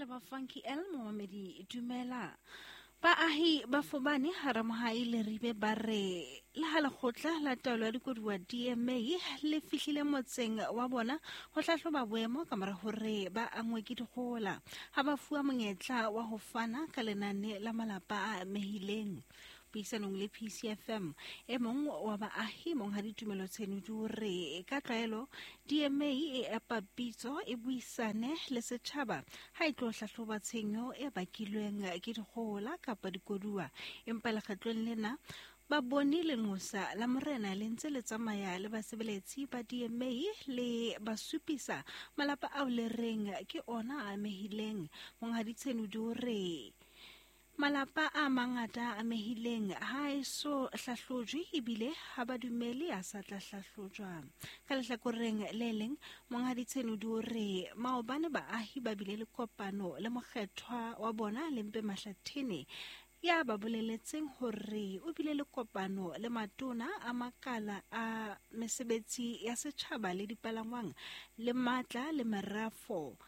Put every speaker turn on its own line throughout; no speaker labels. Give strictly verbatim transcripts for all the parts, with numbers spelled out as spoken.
Ba Funky L momamedi dumela. Baahi ba Fobane hara Mohai le Ribe ba re le ha lekgotla la taolo ya dikoduwa D M A le fihlile motseng wa bona ho hlahloba boemo ka mora hore ba angwe ke dikgohola ha ba fuwa monyetla wa ho fana ka lenane la malapa a amehileng. Puisanong le P C F M, e mong wa baahi Monghadi Tumelo Tshenodi o re ka tlwaelo D M A e epa pitso e buisane le setjhaba ha e tlo hlahloba tshenyo e bakilweng ke dikgohola kapa dikoduwa, empa lekgetlong lena ba bone lenqosa la morena le ntse le tsamaya le basebeletsi ba D M A le ba supisa malapa ao le reng ke ona a amehileng. Monghadi Tshenodi o re malapa a mangata a amehileng ha e so hlahlojwe ebile ha ba dumele a sa tla hlahlojwa. Ka lehlakoreng le leng, Monghadi Tshenodi o re maobane baahi ba bile le kopano le mokgethwa wa bona Lempe Mahlathene ya ba boleletseng hore o bile le kopano le matona a makala a mesebetsi ya setjhaba le dipalangwang le matla le merafo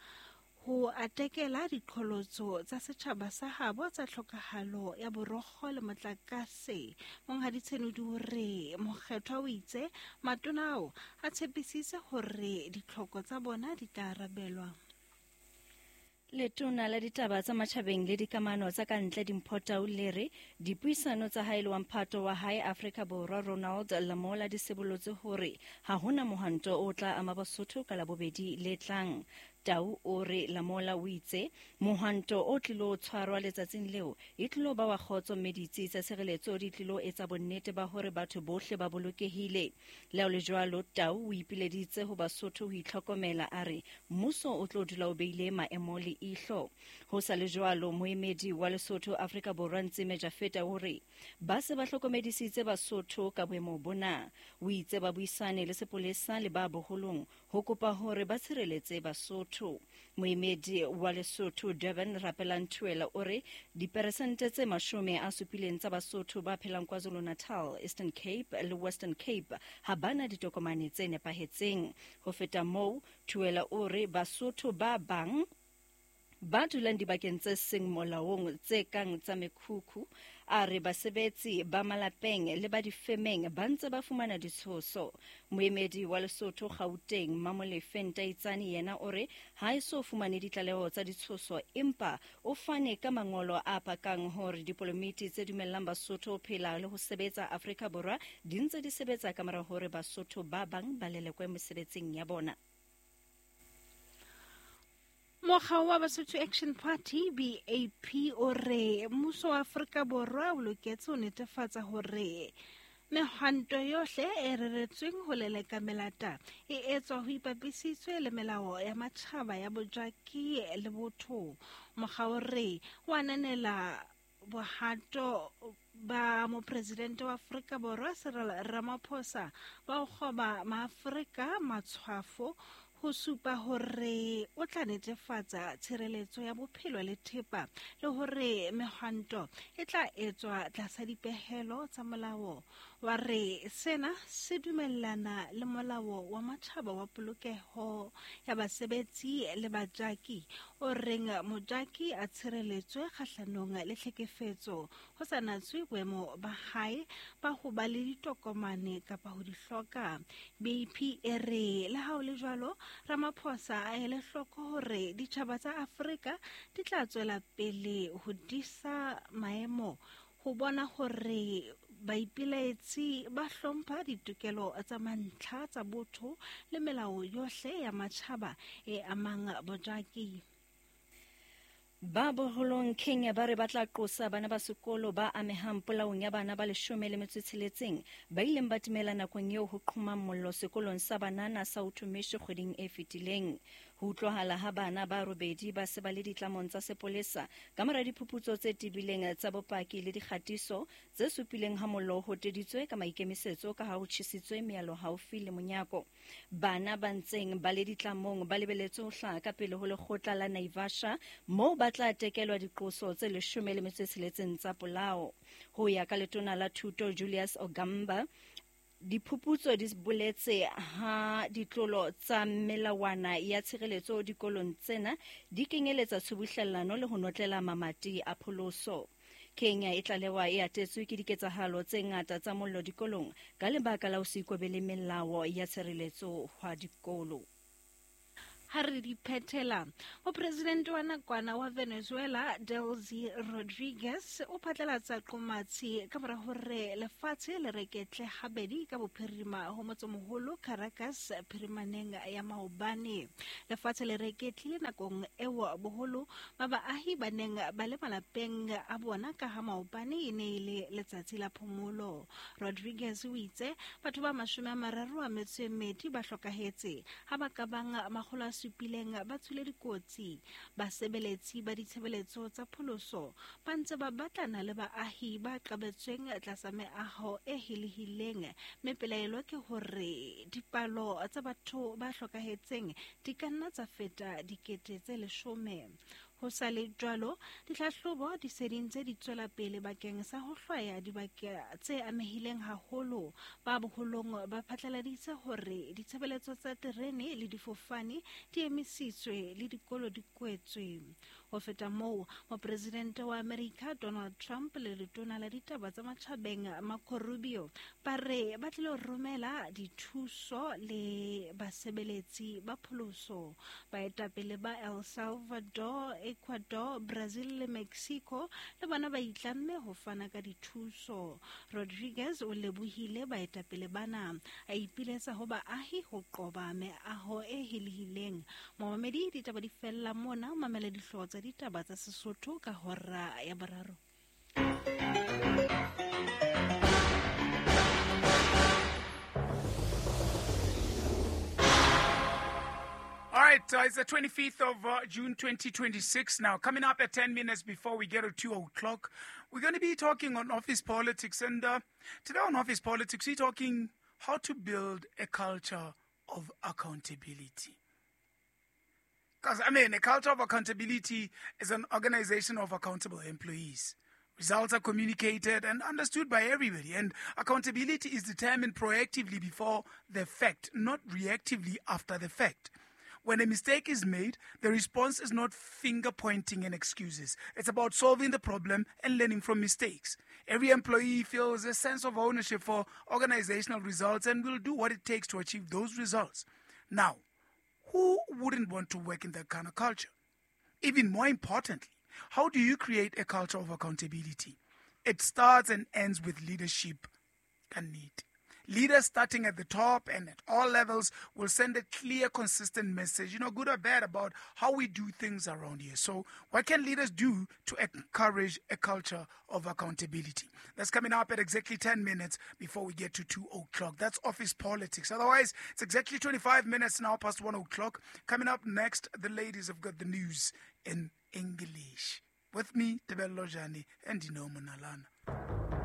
ho atekela diqholotso tsa setjhaba sa habo tsa tlhokahalo ya borokgo le motlakase. Monghadi Tshenodi o re mokgethwa o itse matona ao a tshepisitse hore ditlhoko tsa bona di tla arabelwa.
Letona la ditaba tsa matjhabeng le dikamano tsa ka ntle Dimpho Tau le re dipuisano tsa hae le wa mphato wa hae Afrika Borwa Ronald Lamola di sibolotse hore ha hona mohwanto o tla ama Basotho ka Labobedi le tlang. Tau o re Lamola o itse mohwanto o tlilo tshwarwa letsatsing leo e tlilo ba wa kgotso mme ditsi tsa tshireletso di tlilo etsa bonnete ba hore batho bohle ba bolokehile. Le ha ho le jwalo, Tau o ipileditse ho Basotho ho itlhokomela, a re mmuso o tlo dula o beile maemo le ihlo. Ho sa le jwalo, moemedi wa Lesotho Afrika Borwa Ntsime Jafeta o re ba se ba hlokomedisitse Basotho ka boemo bona. O itse ba buisane le sepolesa le ba boholong ho kopa hore ba tshireletse Basotho. Moemedi wa Lesotho Durban Rapelang Thuela o re diperesente tse mashome a supileng tsa Basotho ba phelang KwaZulu-Natal, Eastern Cape le Western Cape ha bana ditokomane tse nepahetseng. Ho feta moo, Thuela o re Basotho ba bang ba dulang dibakeng tse seng molaong tse kang tsa mekhukhu, a re basebetsi ba malapeng le ba difemeng ba ntse ba fumana ditshoso. Moemedi wa Lesotho Gauteng Mamolefe Ntaitsane yena o re ha e so fumane ditlaleho tsa ditshoso, empa o fane ka mangolo a pakang hore dipolomiti tse dumellang Basotho ho phela le ho sebetsa Afrika Borwa di ntse di sebetsa ka mora hore Basotho ba bang ba lelekwe mesebetsing ya bona.
Mokga wa Basotho Action Party B A P o re mmuso wa Afrika Borwa o loketse ho netefatsa hore mehwanto yohle e reretsweng ho leleka melata e etswa ho ipapisitswe le melao ya matjhaba ya bojaki le botho. Mokga o re o ananela bohato ba mopresidente wa Afrika Borwa Cyril Ramaphosa ba ho kgoba maAfrika matshwafo ho supa hore o tla netefatsa tshireletso ya bophelo le thepa le hore mehwanto e tla etswa tlasa dipehelo tsa molao. Wa re sena se dumellana le molao wa matjhaba wa polokeho ya basebetsi le bajaki o reng mojaki a tshireletswe kgahlanong le tlhekefetso ho sa natswe boemo ba hae ba ho ba le ditokomane kapa ho di hloka. B P e re le ha ho le jwalo, Ramaphosa a ele hloko hore ditjhaba tsa Afrika di tla tswela pele ho disa maemo ho bona hore baipilaetsi ba hlompha ditokelo tsa mantlha tsa botho le melao yohle ya matjhaba e amang bojaki.
Ba boholong Kenya ba re ba tla qosa bana ba sekolo ba amehang polaong ya bana ba leshome le metso e tsheletseng ba ileng ba timela nakong eo ho qhomang mollo sekolong sa banana sa Uthumishi kgweding e fetileng. Ho utlwahala ha bana ba robedi ba se ba le ditlamong tsa sepolesa ka mora diphuputso tse tebileng tsa bopaki le dikgatiso tse supileng ha mollo o hoteditswe ka maikemisetso ka ha ho tjhesitswe mealo haufi le monyako. Bana ba ntseng ba le ditlamong ba lebeletswe ho hlaha ka pele ho lekgotla la Naivasha moo ba tla tekelwa diqoso tse leshome le metso e tsheletseng tsa polao. Ho ya ka letona la thuto Julius Ogamba, Diphuputso di boletse ha ditlolo tsa melawana ya tshireletso dikolong tsena di kenyeletsa tshubuhlellano le ho notlela mamati a pholoso. Kenya e tlalewa e atetswe ke diketsahalo tse ngata tsa mollo dikolong ka lebaka la ho se ikobele melao ya tshireletso hwa dikolo.
Ha re di phethela, mopresidente wa nakwana wa Venezuela Delcy Rodriguez o phatlalatsa qomatsi ka mora hore lefatshe le reketle habedi ka bophirima ho motsemoholo Caracas phirimaneng ya maobane. Lefatshe le reketlile nakong eo boholo ba baahi ba neng ba le malapeng a bona ka ha maobane e ne e le letsatsi la phomolo. Rodriguez o itse batho ba mashome a mararo a metso e mmedi ba hlokahetse ha ba ka bang makgolo a supileng ba tswile dikotsi. Basebeletsi ba ditshebeletso tsa pholoso ba ntse ba batlana le baahi ba qabetsweng tlasa meaho e helehileng, mme pelaelo ke hore dipalo tsa batho ba hlokahetseng di ka nna tsa feta dikete tse leshome. Ho sa le jwalo, ditlhahlobo di se di ntse di tswela pele bakeng sa ho hlwaya dibaka tse amehileng haholo. Ba boholong ba phatlaladitse hore ditshebeletso tsa terene le difofane di emisitswe le dikolo di kwetswe. Ho feta moo, mopresidente wa Amerika Donald Trump le letona la ditaba tsa matjhabeng Marco Rubio ba re ba tlilo romela dithuso le basebeletsi ba pholoso. Baetapele ba El Salvador, Ecuador, Brazil le Mexico le bona ba itlamme ho fana ka dithuso. Rodriguez o lebohile baetapele bana, a ipiletsa ho baahi ho qoba meaho e helehileng. Momamedi, ditaba di fella mona, mamela dihlooho tsa ditaba tsa Sesotho ka hora ya boraro.
All right, uh, it's the twenty-fifth of uh, June twenty twenty-six now. Coming up at ten minutes before we get to two o'clock, we're going to be talking on office politics. And uh, today on office politics, we're talking how to build a culture of accountability. Because, I mean, a culture of accountability is an organization of accountable employees. Results are communicated and understood by everybody. And accountability is determined proactively before the fact, not reactively after the fact. When a mistake is made, the response is not finger-pointing and excuses. It's about solving the problem and learning from mistakes. Every employee feels a sense of ownership for organizational results and will do what it takes to achieve those results. Now, who wouldn't want to work in that kind of culture? Even more importantly, how do you create a culture of accountability? It starts and ends with leadership and need. Leaders starting at the top and at all levels will send a clear, consistent message, you know, good or bad, about how we do things around here. So what can leaders do to encourage a culture of accountability? That's coming up at exactly ten minutes before we get to two o'clock. That's office politics. Otherwise, it's exactly twenty-five minutes now past one o'clock. Coming up next, the ladies have got the news in English. With me, Tebello Jani and Dino Monalana.